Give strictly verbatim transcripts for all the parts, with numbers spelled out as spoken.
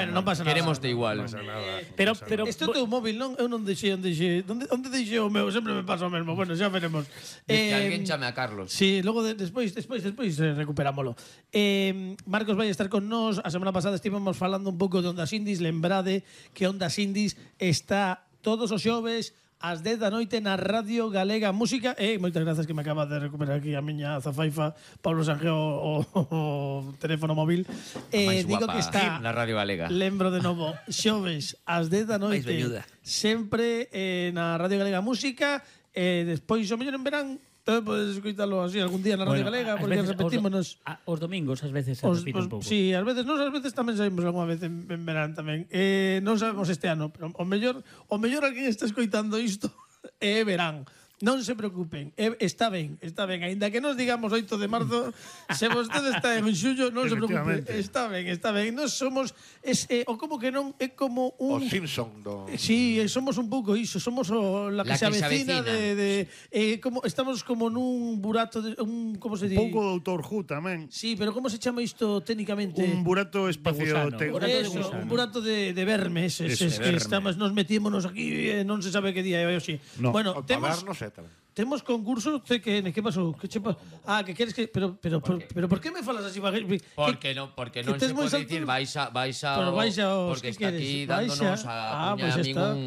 Bueno, non pasa nada. Querémoste igual. Non pasa nada. Pero, non pasa pero, Este é o teu móvil, non? Eu non deixei onde deixei. Onde, onde deixei o meu? Sempre me pasa o mesmo. Bueno, xa veremos. Diz que alguén chame a Carlos. Sí, logo de, despois, despois, despois eh, recuperámolo. Eh, Marcos vai estar con nós. A semana pasada estivemos falando un pouco de Ondas Indies. Lembrade que Ondas Indies está todos os xoves ás dez da noite na Radio Galega Música. E moitas grazas que me acaba de recuperar aquí a miña zafaifa Pablo Sanjeo o, o, o teléfono móvil. Eh, Máis digo guapa que está na Radio Galega. Lembro de novo, xoves ás dez da noite. Sempre eh, na Radio Galega Música. E eh, despois o mellor en verán tamén podes escoitalo así algún día na Radio Bueno, Galega, ás porque veces, repetímonos. Os, a- os domingos, ás veces, se Os, repite os, un pouco. sí, ás veces nós ás veces tamén saímos algunha vez en, en verán tamén. Eh, non sabemos este ano, pero o mellor, o mellor alguén está escoitando isto é verán. Non se preocupen, eh, está ben, está ben. Ainda que nos digamos oito de marzo, se vostede está en xullo, non se preocupe. Efectivamente. Está ben, está ben. Nós somos, es, eh, o como que non, é como O un... Simpson do... Sí, eh, somos un pouco iso, somos o, la que, La se que se avecina, avecina. de, de eh, como estamos como nun burato de un como se di? Un pouco Doutor Who tamén. Sí, pero como se chama isto técnicamente? Un burato espacio... gusano. te- Burato de Eso, gusano. un burato de, de vermes, es, Eso, es de que verme. estamos, nos metímonos aquí, eh, non se sabe que día é hoxe. No. Bueno, O temos taberno Z. temos concurso C Q N, que pasou? Que che pa... Ah, que queres que pero pero por, pero por que me falas así bajito? Porque non, porque non tes se moi pode salto- dicir vais a vais a Pero vais a os porque que está queres. aquí Vais dándonos a- a, Ah, cuña pues a ya min está. un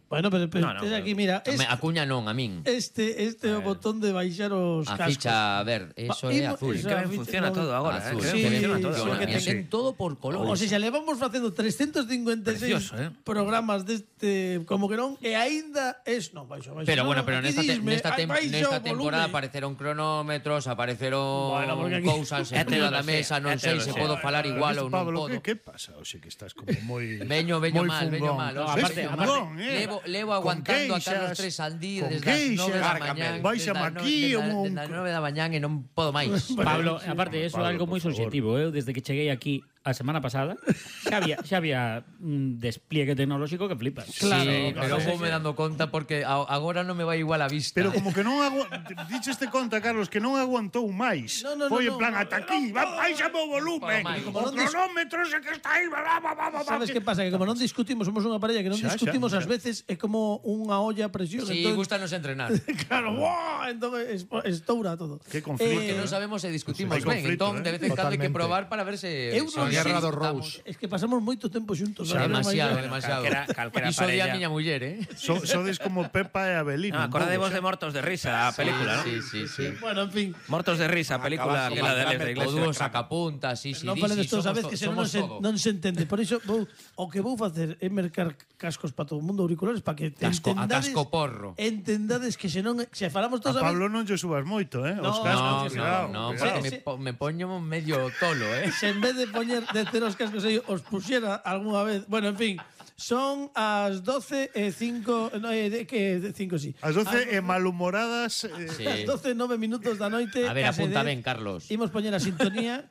Bueno, pero, pero No, no, tes pero- aquí, mira, es, a cuña non a min. este este é o botón de baixar os A cascos. ficha verde, eso Va, é imo- azul. esa Que ben ficha- funciona no, todo agora, Azul. eh? Sí, Que ben funciona todo sí, agora. que Funciona, ten- ten todo por colores. O sea, xa levamos facendo trescentos cincuenta e seis Precioso, eh? programas deste como que non e aínda es non baixo, baixo. Pero no, bueno, no, pero aquí nesta, te, disme, nesta, tem, baixo nesta o temporada volume. apareceron cronómetros, apareceron Bueno, porque aquí- cousas É encima da tecnoloxía, mesa, non é sei se tecnoloxía. podo falar igual ou non Pablo, podo. que, que pasa? Oxe, que estás como moi... Veño, veño moi mal, veño fungón. mal. No, o sea, aparte- veño aparte- mal. eh. levo, levo Con aguantando a Carlos queixas, Tres al día con desde as queixas, nove da Cárgame. mañán. Báixame desde as aquí, nove- un- desde as nove da mañán e non podo máis. Pablo, aparte, eso é Pablo, algo moi por favor. subjetivo. Eu, desde que cheguei aquí a semana pasada, xa había, xa había un despliegue tecnolóxico que flipas. Claro, sí, pero claro. vou me dando conta porque a- agora non me vai igual a vista. Pero como que non agu... Dicheste conta, Carlos, que non aguantou máis. No, no, Foi no, en plan, no. ata aquí, va, baixame o volumen. Para máis. O cronómetro ese que está aí, va, va, va, va, va. Sabes que pasa? Que como non discutimos, somos unha parella que non Xa, discutimos xa, ás xa. veces é como unha olla a presión. Sí, entón- gustanos entrenar. Claro, ¡buah! Entón espo- estoura todo. Que conflicto, Porque Eh, non sabemos se discutimos Hai ben, conflito, entón eh? de vez en cando hai que Totalmente. probar para ver se Eu se non nos sei. Guerra do estamos- Rose. Es que pasamos moito tempo xuntos. Xa, ¿no? Demasiado, Máis- demasiado. Calquera- calquera Iso di a parella. miña muller, eh? So, sodes como Pepa e Abelino. No, un acordadevos pouco, de Mortos de Risa, a película, ¿no? Sí, sí, sí. Bueno, en fin. Mortos de Risa, película Acabas que la de Alex de O Iglesia. dúo sacapuntas, sí, sí, Non sí, falen sí, destos, somos sabes to- que senón non somos se, todo. non se entende. Por iso, vou, o que vou facer é mercar cascos para todo o mundo, auriculares, para que Casco- a entendades, casco porro. entendades que se non se falamos A todos a Pablo non lle subas moito, eh? Os No, cascos, No, cuidado, no, no, cuidado. porque Sí, me, sí. po- me poño medio tolo, eh? se en vez de poñer de ter os cascos aí os puxera algunha vez. Bueno, en fin, son as doce e cinco, no, eh, de, que de cinco sí. As doce e malhumoradas... Eh, Sí. As doce e nove minutos da noite. A ver, case apunta dez. ben, Carlos. Imos poñer a sintonía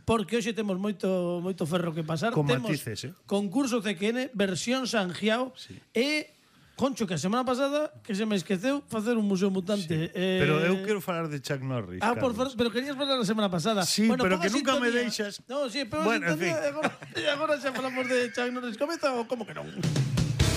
porque hoxe temos moito moito ferro que pasar. Con temos matices, eh. concurso C Q N versión Sanjiao sí. e Concho, que a semana pasada que se me esqueceu facer un museo mutante. Sí. Eh, Pero eu quero falar de Chuck Norris. Ah, por Carlos. favor, pero querías falar a semana pasada. Sí, bueno, pero ponga que nunca me sintonía. deixas. No, sí, pero Bueno, en sintonía, fin. e agora, e agora xa falamos de Chuck Norris. Comeza ou como que non?